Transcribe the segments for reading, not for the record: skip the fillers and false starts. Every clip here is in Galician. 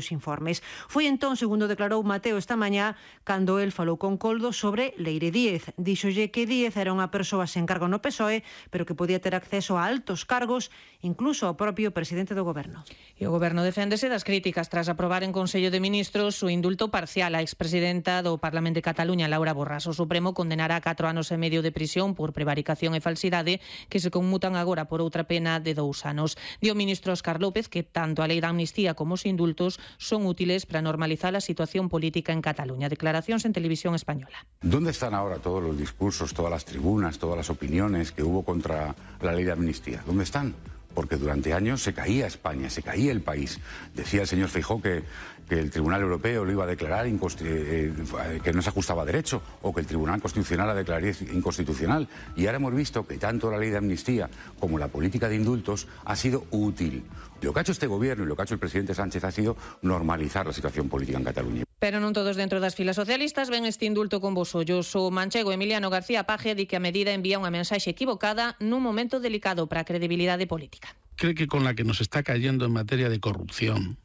os informes. Foi entón, segundo declarou Mateo esta mañá, cando el falou con Coldo sobre Leire Díez. Díxolle que Díez era unha persoa sen cargo no PSOE, pero que podía ter acceso a altos cargos, incluso ao propio presidente do Goberno. E o Goberno deféndese das críticas tras aprobar en Consello de Ministros o indulto parcial á expresidenta do Parlamento de Cataluña, Laura Borràs. O Supremo condenará a 4 anos e medio de prisión por prevaricación e falsidade, que se conmutan agora por outra pena de 2 anos. Dio o ministro Óscar López que tanto a lei da amnistía como os indultos son útiles para normalizar la situación política en Cataluña. Declaracións en Televisión Española. ¿Dónde están ahora todos los discursos, todas las tribunas, todas las opiniones que hubo contra la ley de amnistía? ¿Dónde están? Porque durante años se caía España, se caía el país. Decía el señor Feijóo que el Tribunal Europeo lo iba a declarar que no se ajustaba a derecho, o que el Tribunal Constitucional la declararía inconstitucional. Y ahora hemos visto que tanto la ley de amnistía como la política de indultos ha sido útil. Lo que ha hecho este gobierno y lo que ha hecho el presidente Sánchez ha sido normalizar la situación política en Cataluña. Pero non todos dentro das filas socialistas ven este indulto con vos ollos. O manchego Emiliano García Paje di que a medida envía unha mensaxe equivocada nun momento delicado para a credibilidade política. ¿Cree que con la que nos está cayendo en materia de corrupción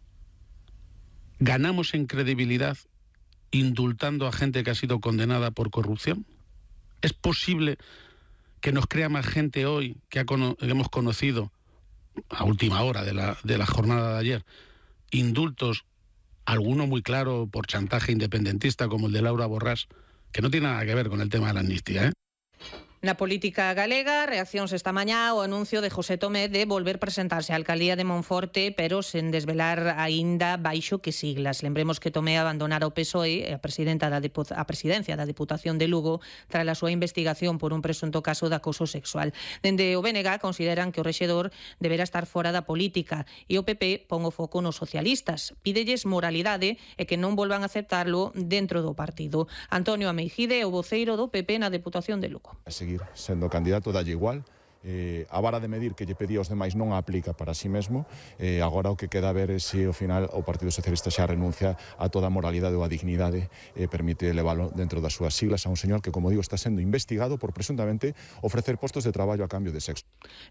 ganamos en credibilidad indultando a gente que ha sido condenada por corrupción? ¿Es posible que nos crea más gente hoy que hemos conocido a última hora de la jornada de ayer indultos, alguno muy claro por chantaje independentista como el de Laura Borràs, que no tiene nada que ver con el tema de la amnistía, Na política galega, reaccións esta mañá ao anuncio de José Tomé de volver presentarse á alcaldía de Monforte, pero sen desvelar aínda baixo que siglas. Lembremos que Tomé abandonara o PSOE a presidencia da Deputación de Lugo tras a súa investigación por un presunto caso de acoso sexual. Dende o BNG consideran que o rexedor deberá estar fora da política e o PP pon o foco nos socialistas. Pídelles moralidade e que non volvan a aceptarlo dentro do partido. Antonio Ameijide é o voceiro do PP na Deputación de Lugo. Sendo candidato dalle igual, a vara de medir que lle pedía aos demais non a aplica para si mesmo, agora o que queda a ver é se ao final o Partido Socialista xa renuncia a toda a moralidade ou a dignidade e permite leválo dentro das súas siglas a un señor que, como digo, está sendo investigado por presuntamente ofrecer postos de traballo a cambio de sexo.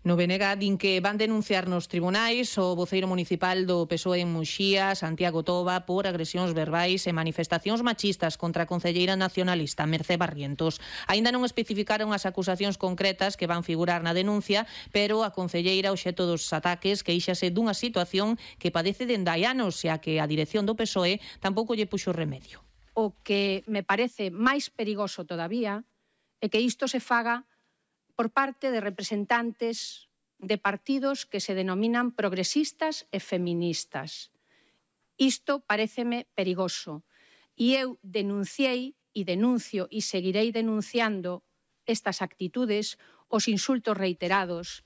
No BNG din que van denunciar nos tribunais o voceiro municipal do PSOE en Muxía, Santiago Toba, por agresións verbais e manifestacións machistas contra a concelleira nacionalista Mercé Barrientos. Aínda non especificaron as acusacións concretas que van figurar na denuncia, pero a concelleira obxecto dos ataques queixase dunha situación que padece dende hai anos e a que a dirección do PSOE tampouco lle puxo remedio. O que me parece máis perigoso todavía é que isto se faga por parte de representantes de partidos que se denominan progresistas e feministas. Isto paréceme perigoso e eu denunciei e denuncio e seguirei denunciando estas actitudes, os insultos reiterados.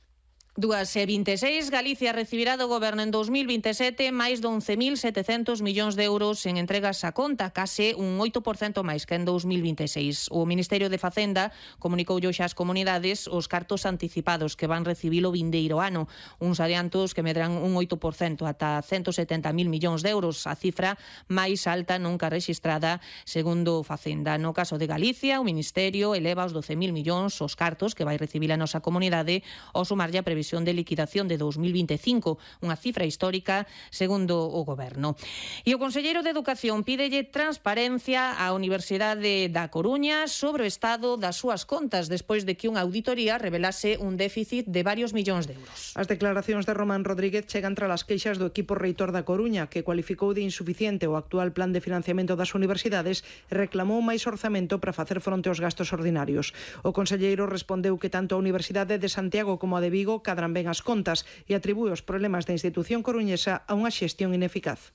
2,26, Galicia recibirá do Goberno en 2027 máis de 11.700 millóns de euros en entregas á conta, case un 8% máis que en 2026. O Ministerio de Facenda comunicou hoxe ás comunidades os cartos anticipados que van recibir o vindeiro ano, uns adiantos que medran un 8% ata 170.000 millóns de euros, a cifra máis alta nunca rexistrada segundo Facenda. No caso de Galicia, o Ministerio eleva os 12.000 millóns os cartos que vai recibir a nosa comunidade ao sumarlle a previsión de liquidación de 2025, unha cifra histórica segundo o Goberno. E o conselleiro de Educación pídelle transparencia á Universidade da Coruña sobre o estado das súas contas despois de que unha auditoría revelase un déficit de varios millóns de euros. As declaracións de Román Rodríguez chegan tras as queixas do equipo reitor da Coruña, que cualificou de insuficiente o actual plan de financiamento das universidades e reclamou máis orzamento para facer fronte aos gastos ordinarios. O conselleiro respondeu que tanto a Universidade de Santiago como a de Vigo cadran ben as contas e atribúe os problemas da institución coruñesa a unha xestión ineficaz.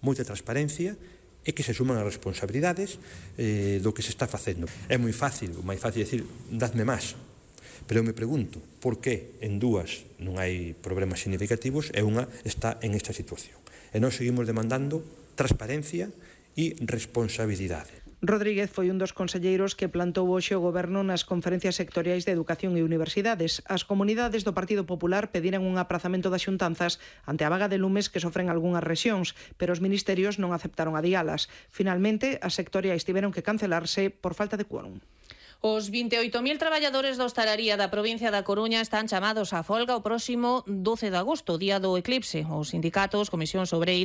Moita transparencia e que se suman as responsabilidades do que se está facendo. É moi fácil, o máis fácil decir, dadme máis. Pero eu me pregunto, por que en dúas non hai problemas significativos e unha está en esta situación? E nós seguimos demandando transparencia e responsabilidade. Rodríguez foi un dos conselleiros que plantou hoxe o Goberno nas conferencias sectoriais de Educación e Universidades. As comunidades do Partido Popular pediran un aprazamento das xuntanzas ante a vaga de lumes que sofren algunhas rexións, pero os ministerios non aceptaron adialas. Finalmente, as sectoriais tiveron que cancelarse por falta de quórum. Os 28.000 traballadores da hostalaría da provincia da Coruña están chamados á folga o próximo 12 de agosto, día do eclipse. Os sindicatos, Comisións Obreiras